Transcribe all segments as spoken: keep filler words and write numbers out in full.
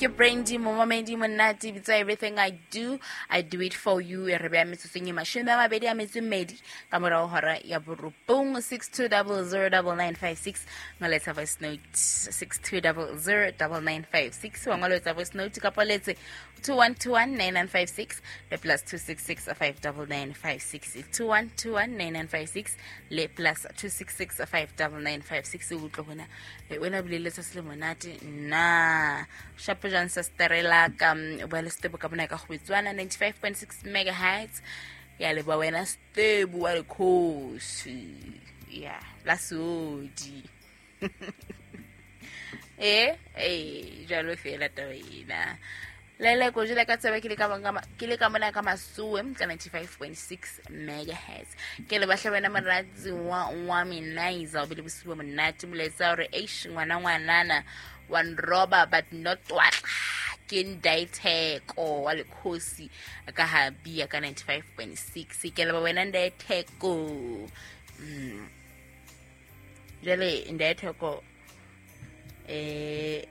Ke Brandy momamedi monate bitsa everything I do, I do it for you. E re beya metsotsong e mashome a mabedi a metso e mmedi ka morao hora ya borobong. Six two double zero double nine five six ngoletsa voice note six two double zero double nine five six wa ngoletsa voice note kapa letse two one two one nine nine five six le plus two six six five double nine five six two one two one nine nine five six le plus two six six five double nine five six o utlwe hona e wena bile letsatsi le monate nna shapo jang sa sterela ka bua le Stebo ka bona ka go betswana ninety five point six megahertz ya leboha wena Stebo wa lekgosi ya la sodi eh eh jalo fela taba ena lele ko jela ka tsebe ke le ka banga ke le ka mona ka masuwe ka ninety five point six megahertz ke le bahle wena moratsi wa wa minaiza o bile bosibo monate molaetsa hore eish ngwana ngwanana one robber but not what ke ndaitheko wa lekgosi ka ha bia ka ninety five point six ke le ba wena ndaitheko mm jale ndaitheko eh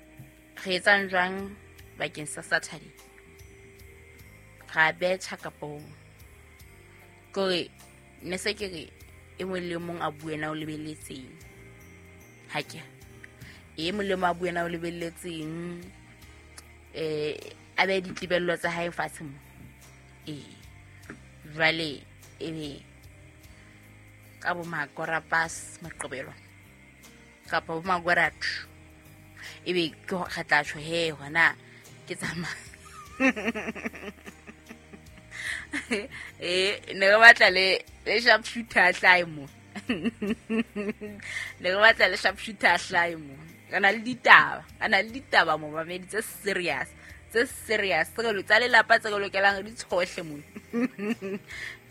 re etsang jwang bakeng sa Saturday ra betjha kapo kore ne se ke re e mong le mong a bue na o lebeletseng ha ke e mong le mong a bue na o lebeletseng eh a be ditlibello tsa hae fatshe mo eh jwale ebe ka bo makora pass maqobelo kapa bo magora ebe ke re tla tjho he hona ke tsamaya eh ne re batla le le sharp shooter hlae mo ne re batla le sharp shooter hlae mo re na le ditaba re na le ditaba mo mamedi tse serious tse serious tse re tsa lelapa tse re lokelang di tshohle mo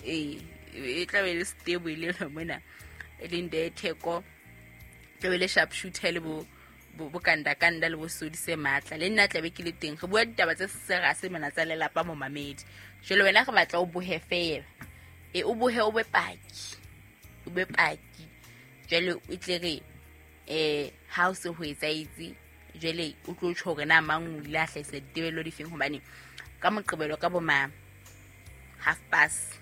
eh e tla be le stable le mona e leng Theko tla be le sharp shooter le bo bo kanda kanda le bo sodi se matla le nna tlabe ke le teng re bua ditaba tse serious mona tsa lelapa mo mamedi jwale wena re batla o bohe fela e o bohe o be paki o be paki jwale o tle re eh ha o se ho etsaitse jwale o tlo tjho hore na mang o ile a hlahisa ditebello difeng hobane ka moqebelo ka bo ma half past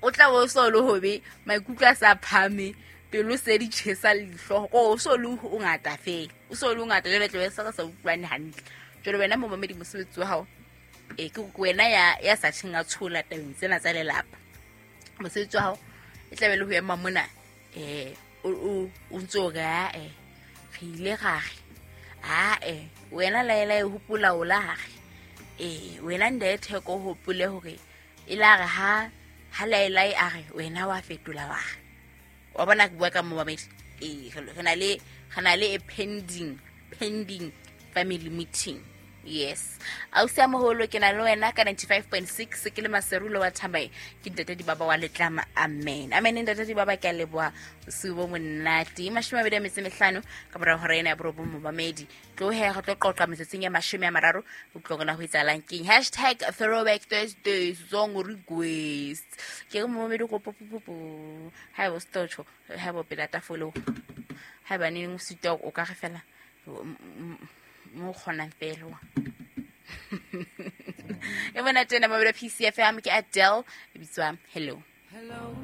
o tla bo so le hobe maikutlo a sa phame pelo se di tjhesa leihlo ko o so le o ngata fela o so le o ngata jwale tlabe se re sa utlwane hantle jwale wena momamedi mosebetsi wa hao e ke wena ya ya sa tjheng a tshola tabeng tsena tsa lelapa mosebetsi wa hao e tlabe le ho ema mona eh o o ntso re a eh re ile ra re a eh wena laela e hopola o la re eh wena Ndetheko hopole hore e la re ha ha laela e a re wena wa fetola wa wa bona ke bua ka momamedi eh re na le re na le a pending pending family meeting yes ausi a moholo ke na le wena ka ninety five point six ke le Maserulo wa Thambai ke ntate Dibaba wa Letlama amen amen ntate Dibaba ke a leboha bosiu bo monate mashome a mabedi a metso e mehlano ka mora hora ena ya borobong momamedi tlohe re tlo qoqa metsotsong ya mashome a mararo o tlo rona ho etsahalang keng hashtag throwback Thursday song request ke re momamedi ko popopopo ha ebo stotho ha ebo pela tafolo ha ba neng o sitwa o ka re fela mo kgonang fela e bona tena mabelo P C F M ke Adele e bitswa Hello. Hello.